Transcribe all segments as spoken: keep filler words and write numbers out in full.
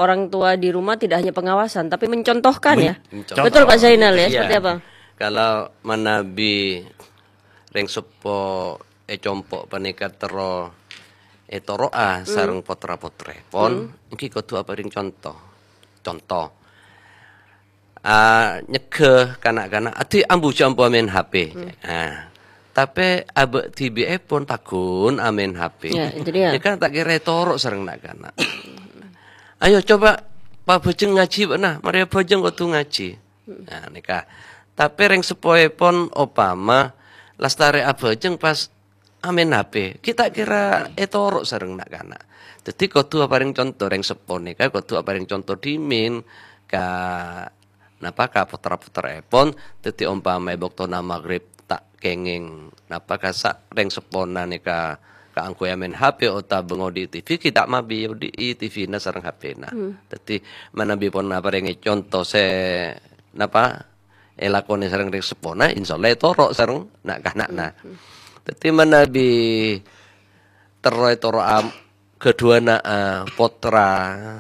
orang tua di rumah tidak hanya pengawasan, tapi mencontohkan, ya. Mencontoh. Betul, Pak Zainal, ya? Iya. Seperti apa? Kalau manabi rèng seppo è compo' panèka terro ètoro'a sareng potra-potrèpon, èngghi kodhu aparèng conto. Conto. Ah, nyegghâ kana'-kana', "Adi', ambu jhâ' ampo amèn H P." Ah, tapè abâ' dhibi'èpon pagghun amèn H P. Ya, itu dia. Nèka ta' kèra ètoro' sareng na'-kana'. "Ayo, coba pabhâjâng ngajhi bâ'na, marè abhâjâng kodhu ngajhi." Nah, nèka. Tapè rèng seppoèpon opama lastarè abhâjâng pas amèn H P, ghi' ta' kèra ètoro' sareng na'-kana'. Dhâddhi kodhu aparèng conto, rèng seppo nèka kodhu aparèng conto dhimèn ka, napa, ka potra-potrèpon. Dhâddhi ompama è bâktona maghrib ta' kèngèng, napa, kasa' rèng seppona nèka kaangghuy amèn H P otabâ ngodi'i T V, ghi' ta' mabi odi'i T V-na sareng H P-na. Hmm. Dhâddhi manabi pon aparèngè conto sè, napa, èlakonè sareng rèng seppona, insyaallah ètoro' sareng na'-kana'na. Hmm. Dhâddhi manabi terro ètoro'a ghâdhuwânna, eh, potra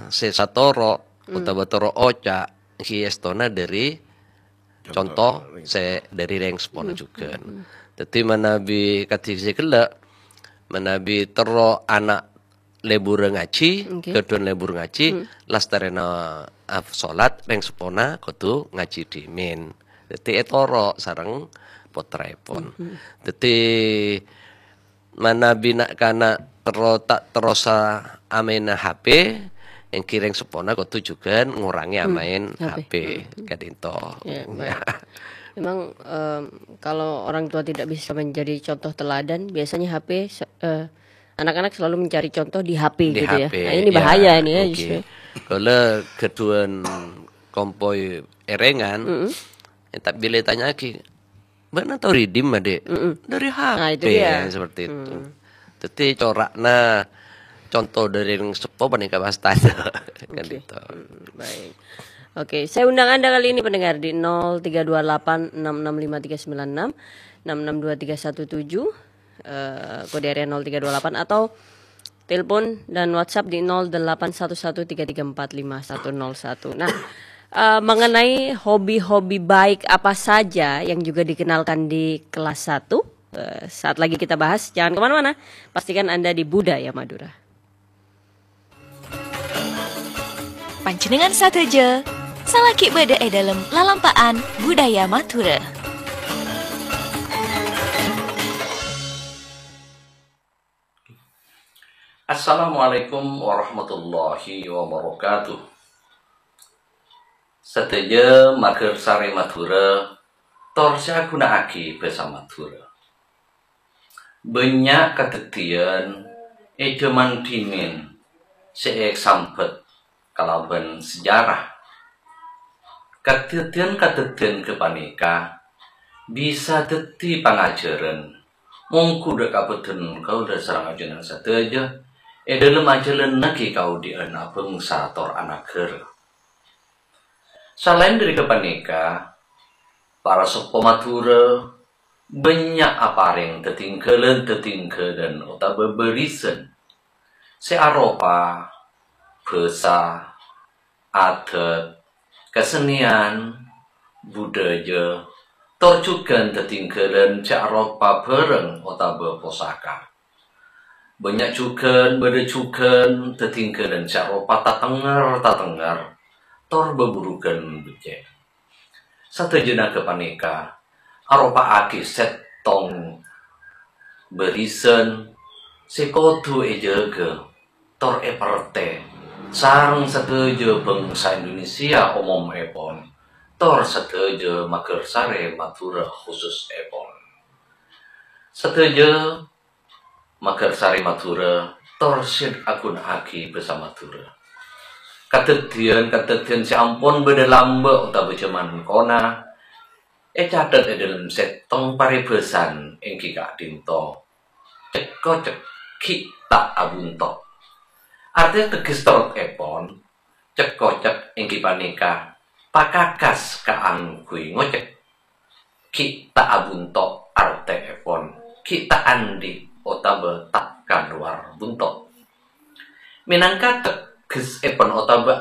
sè satoro' otabâ toro' oca', ghi' èstona dhâri conto sè dhâri rèng seppona jhughân. Dhâddhi manabi kadhi sè ghellâ', manabi terro ana' lebur ngajhi, ghâdhuwân lebur ngajhi, lastarèna, ah, solat, rèng seppona kodhu ngajhi dhimèn. Dhâddhi ètoro' sareng potraèpon. Dhâddhi manabi na'-kana' terro ta' terrosa amaèna H P, èngghi rèng seppona kodhu jhughân ngorangè amaèn H P. H P. Ka'dinto. Ya, baik. Memang, em, kalau orang tua tidak bisa menjadi contoh teladan, biasanya H P se-, eh, anak-anak selalu mencari contoh di H P gitu ya. Di H P, ya. Nah, ini bahaya ini ya, justru. Kaulâ ghâdhuwân kompoy èrèngan, ya, tapi bilâ ètanya'aghi, "Bâ'na tao redeem, Adik?" Dari H P, nah, itu dia. Seperti itu. Dhâddhi cora'na conto dhâri rèng seppo panèka pas tadâ'. Kan gitu. Baik. Oke, saya undang Anda kali ini pendengar di nol tiga dua delapan enam enam lima tiga sembilan enam, enam enam dua tiga satu tujuh, eh, kode area nol tiga dua delapan, atau telepon dan WhatsApp di nol delapan satu satu tiga tiga empat lima satu nol satu. Nah, eh, mengenai hobi-hobi baik apa saja yang juga dikenalkan di kelas satu, eh, saat lagi kita bahas. Jangan kemana-mana, pastikan Anda di Budaya Madura. Panjhennengngan sadhâjâ, salaghi bâdâ è dâlem lalampa'an Budaya Madhurâ. Assalamualaikum warahmatullahi wabarakatuh. Sadhâjâ maghârsarè Madhurâ, tor sè aghuna'aghi bhâsa Madhurâ. Bânnya' kadhâddhiyân è jhâman dhimèn sè èsambhât kalabân sejarah. Kadhâddhiyân-kadhâddhiyân ghâpanèka bisa dhâddhi pangajhârân mongghu dâ' ka bhâdhân kaulâ sareng ajunan sadhâjâ è dâlem ajhâlânnaghi kaodi'ân abhângsa tor anaghârâ. Salaèn dhâri ghâpanèka, para seppo Madhurâ bânnya' aparèng dhâddhiyân-dhâddhiyân otabâ bârisân sè aropa bhâsa, adhât, kasennèyan, budhâjâ, tor jhughân dhâddhiyân-dhâddhiyân sè aropa bhârâng otabâ posaka. Bânnya' jhughân, bâdâ jhughân dhâddhiyân-dhâddhiyân sè aropa tatengnger-tatengnger, tor bhâbhurughân beccè'. Sadhâjâna ghâpanèka aropa'aghi sèttong bârisân sè kodhu èjâgâ tor èpartè sareng sadhâjâ bhângsa Indonesia omomèpon, tor sadhâjâ maghârsarè Madhurâ khususèpon. Sadhâjâ maghârsarè Madhurâ, tor sè aghuna'aghi bhâsa Madhurâ. Kadhâddhiyân-kadhâddhiyân sè ampon bâdâ lambâ' otabâ jhâman kona ècatet è dâlem sèttong parèbhâsan èngghi ka'dinto, cek-kocek ghi' ta' abunto'. Artèna tegghes terrèpon, cek-kocek èngghi panèka pakakas kaangghuy ngocek. Ghi' ta' abunto' artèèpon, ghi' ta' andi' otabâ ta' kalowar bunto'. Mènangka teggessèpon otabâ